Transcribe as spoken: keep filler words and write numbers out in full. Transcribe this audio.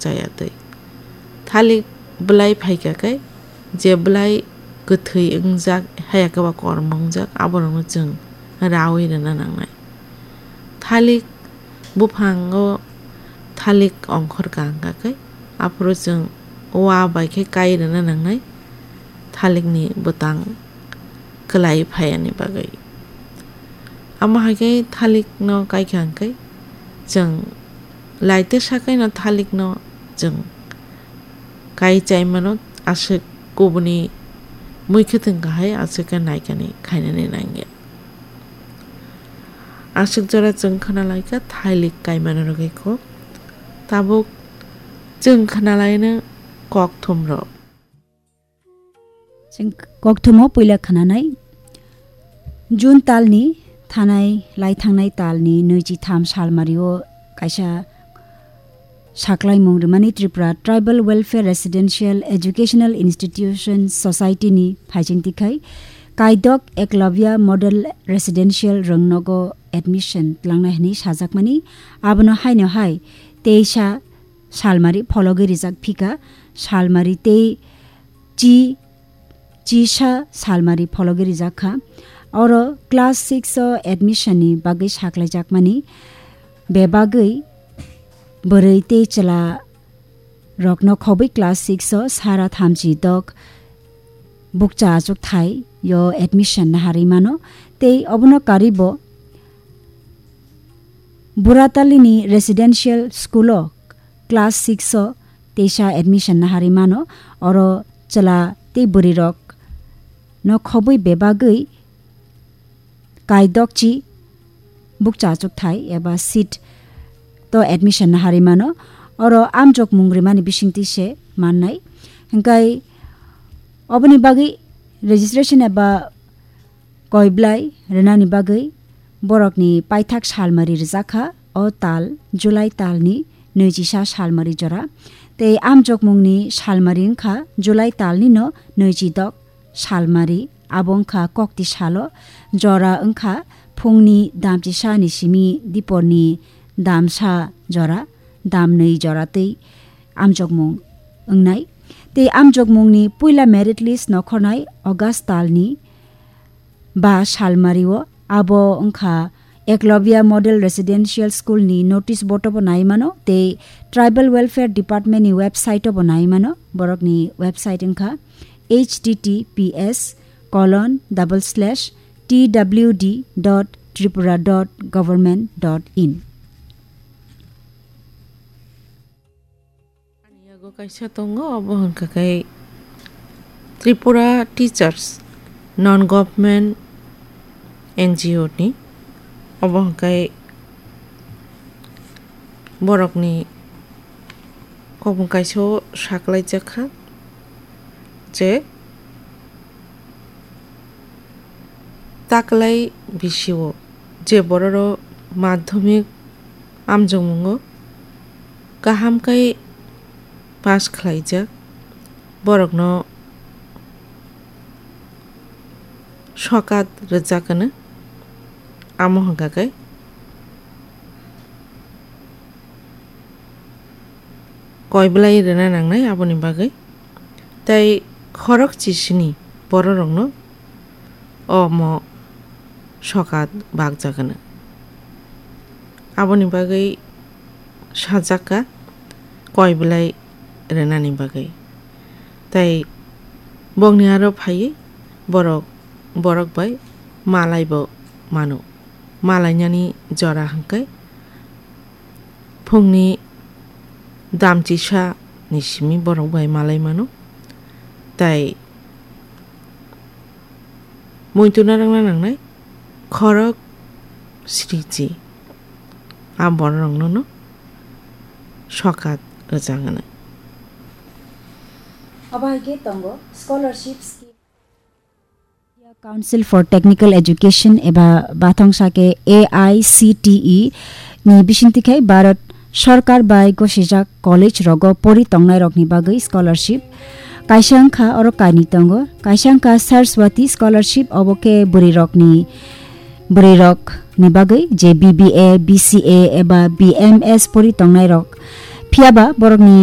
chaya twi. Thalik bwlai phaikha khe, je bwlai kwthwi wngjak, haya khe ba kormo wngjak, aborokno chwng rawi rwna nangnai. Thalik buphango thalik ongkhor kang kha khe, aphuru chwng wa bai khe kai rwna nangnai thalikni bwtang kwlai phaiani bagwi. Amo hai khe thalikno kai kha hwn khe, chwng laitesa khe no thalikno chwng kai chai mano, aswk kubuni mui khwtwng kahai aswk khe naikani khainani nangya. Aswk jora chwng khwnalaikha thailik kaimano rwgwi kok. Tabuk chwng khwnalaino kokthumrok. Chwng kokthumo puila khwnanai. June talni thanai lai thangnai talni nwichitham salmario kaisa saklaimung rwmani Tripura Tribal Welfare Residential Educational Institution Society ni phaichingtwi khai Kaidok Eklavya Model Residential rwngnogo admission tlangnai hwnwi sajakmani. Abono haino hai teisa salmari phologwi rijak phika, salmari tei chi chisa salmari phologwi rijak kha. Oro class six o admission ni bagwi saklaijakmani bebagwi bwrwi tei chwla rokno khobwi class six o sara thamchi dok bukcha achukthai yo admission naharwi mano. Tei obono karwi bo Buratalini residential school o class six o teisa admission naharwi mano. Oro chwla tei bwrwi rok no khobwi bebagwi kaidokchi bukcha achukthai eba seat to admission naharwi mano. Oro amjokmung rimani bisingtwi se mannai. Hwnkhe oboni bagwi registration eba koiblai rwnani bagwi borokni paithak salmari rwjakha. O tal July talni nwichisa salmari jora. Tei amjokmungni salmari wngkha July talnino nwichidok salmari. Abo wngkha kokti salo. Jora wngkha phungni damchisani simi diporni damsa jora, damnwi jora tei amjokmung wngnai. Tei amjokmungni puila merit list nokhornai August talni ba salmario. Abo wngkha Eklavya Model Residential School ni notice board o bo nai mano tei Tribal Welfare Department ni website o bo nai mano. Borokni website wngkha H T T P S colon double slash T W D dot Tripura dot government dot in. Ani yago kaisa tongo, obo hwnkha khe Tripura Teachers Non Government N G O ni, obo hwnkha khe borokni kokmung kaisa o saklaijak kha je taklai bisio je bororok madhyamik amjokmungo kaham khe pass khlaijak, borokno sokat rwjak hwno. Amo hwnkha khe koi belai rwna nangnai aboni bagwi. Tei khorok chisini bororokno omo sokat bakjak hwno. Aboni bagwi sajak kha koi belai rwnani bagwi. Tei bokni aro phaiwi borok, borok bai malaibo mano. Malainani jora hwnkhe phungni damchisa ni simi borok bai malai mano. Tei muitu narwkna nangnai khorok sriji a bororokno no sokat rwjak hwnwi. Abo hai khe tongo scholarship scheme. India Council for Technical Education eba bathang sake A I C T E ni bisingtwi khai Bharat Sarkar bai gosijak college rogo pori tongnai rokni bagwi scholarship. Kaisa wngkha oro kainwi tongo, kaisa wngkha Saraswati scholarship, obo khe bwrwi rokni, bwrwi rokni bagwi je B B A, B C A eba B M S pori tongnai rok. Phiyaba borokni